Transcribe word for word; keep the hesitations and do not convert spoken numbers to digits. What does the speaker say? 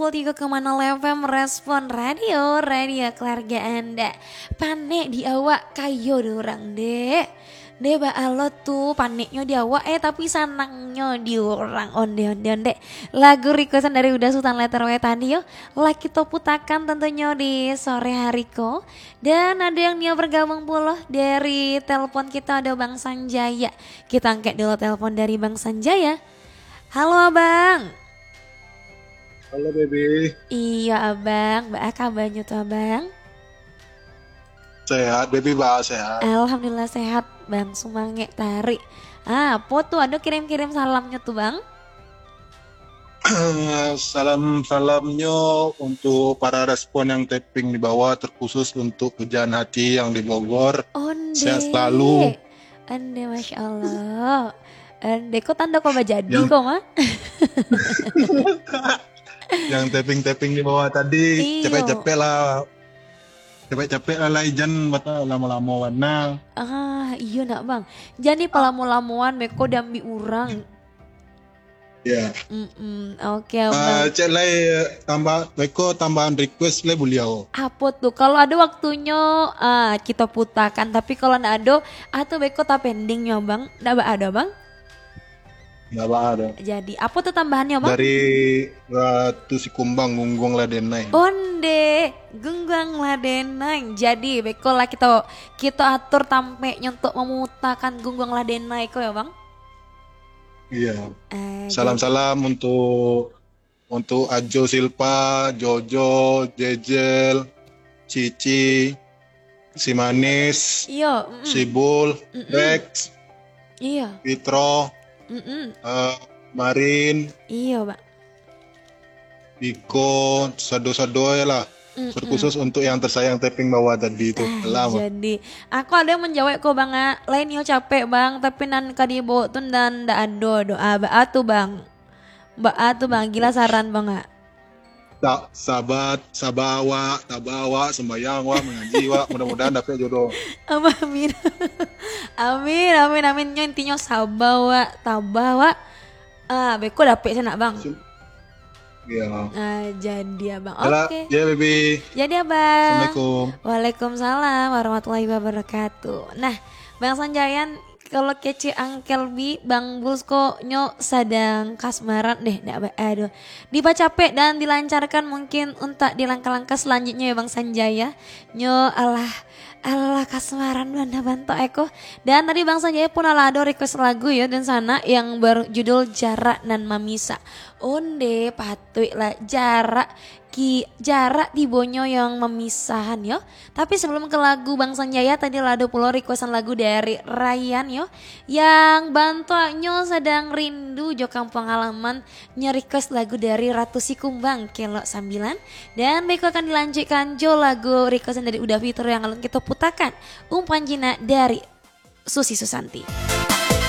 Pukul tiga koma nol F M Respon Radio, radio keluarga anda. Panek di awak, kayo di urang, dek. Dek, baa lo tu, paneknyo di awak, eh, tapi sanangnyo di urang. Onde, onde, onde. Lagu requestan dari Uda Sutan Letter W tadi, yo. Lah kito putakan tentunyo di sore hari ko. Dan ado yang nio bergabung pulo dari telepon kito, ado Bang Sanjaya. Kito angkek dulu telepon dari Bang Sanjaya. Halo, Abang. Halo, Baby. Iyo, Abang. Baa kabanyo tu, Abang? Sehat, Baby, baa sehat? Alhamdulillah sehat, Bang. Sumangek tarik. Ah, apo tu? Ado kirim-kirim salamnyo tu, Bang? Salam-salamnyo untuk para respon yang tapping di bawah, terkhusus untuk Pujaan Hati yang di Bogor. Onde. Sehat selalu. Onde, Masya Allah. Onde, ko tando ko bajadi Yang ko, mah? Yang tapping-tapping di bawah tadi, Iyo. capek-capek lah. Capek-capek lah, lai jan bata lamo-lamo bana. Ah, iyo nak, Bang. Jadi palamo-lamoan beko diambiak urang. Ya. Mm-mm, oke, Ah, Abang. Cek lai, tambah, beko tambahan request lai buliah. Apo tu? Kalau ado waktunyo, ah, kito putakan. Tapi kalau ndak ado, ah, tu beko tapendingnyo, Bang. Ndak baa doh, Bang? Ndak baa doh. Jadi, apo tu tambahannyo, Bang? Dari Ratu Sikumbang, Gungguang Lah Denai. Onde, Gungguang Lah Denai. Jadi, beko lah kito, kito atur tampeknyo untuk mamutakan Gungguang Lah Denai ko, yo, Bang? Iya. Eh, Salam-salam untuk, untuk Ajo Silpa, Jojo, Jejel, Cici, Si Manis, Iyo, mm-mm. Si Bul, Mm-mm. Rex, Iyo. Fitro, Mm-mm. eh, Marin, Iyo, Bang. Biko, sado-sado lah. Mm-mm. Terkhusus untuk yang tersayang tapping bawah tadi tu. Ah, Alah, Bang. jadi. Aku ada yang menjawab ko, Bang, ah. Lain yo capek, Bang, tapi nan ka dibawa tu nan ndak ado doh. Ah, baa tu, Bang. Baa tu, Bang. Gila saran, Bang, ah. Sa-, sabar, sabar awak, tabah awak, sembayang awak, mangaji awak. Mudah-mudahan dapek jodoh. Amin. Amin, amin, amin. Nyo intinyo sabar awak, tabah awak. Ah, beko dapek sanak, Bang. Sim-, Ya. Ah, jadi, Abang. Yalah, Oke. ya, Baby. Jadi, Abang. Assalamualaikum. Waalaikumsalam warahmatullahi wabarakatuh. Nah, Bang Sanjayan, kalau kecek Uncle B, Bang Bulsko nyo sadang kasmaran deh, ndak ba-, aduh. Dipacapek dan dilancarkan mungkin untuk di langkah-langkah selanjutnya ya, Bang Sanjaya. Nyo alah, alah kasmaran bana bantuak eko. Dan tadi Bang Sanjaya pun alah ado request lagu ya, dan sana yang berjudul Jarak Nan Mamisah. Onde, patuiklah jarak ki-, jarak tibonyo yang mamisahan yo. Tapi sebelum ke lagu Bang Sanjaya, tadi lah ado pulo requestan lagu dari Ryan yo, yang bantuaknyo sadang rindu jo kampung halaman. Nyo request lagu dari Ratu Sikumbang, Kelok Sambilan. Dan baiko akan dilanjutkan jo lagu requestan dari Uda Fitro yang alun kito putakan, Umpan Jinak dari Susi Susanti.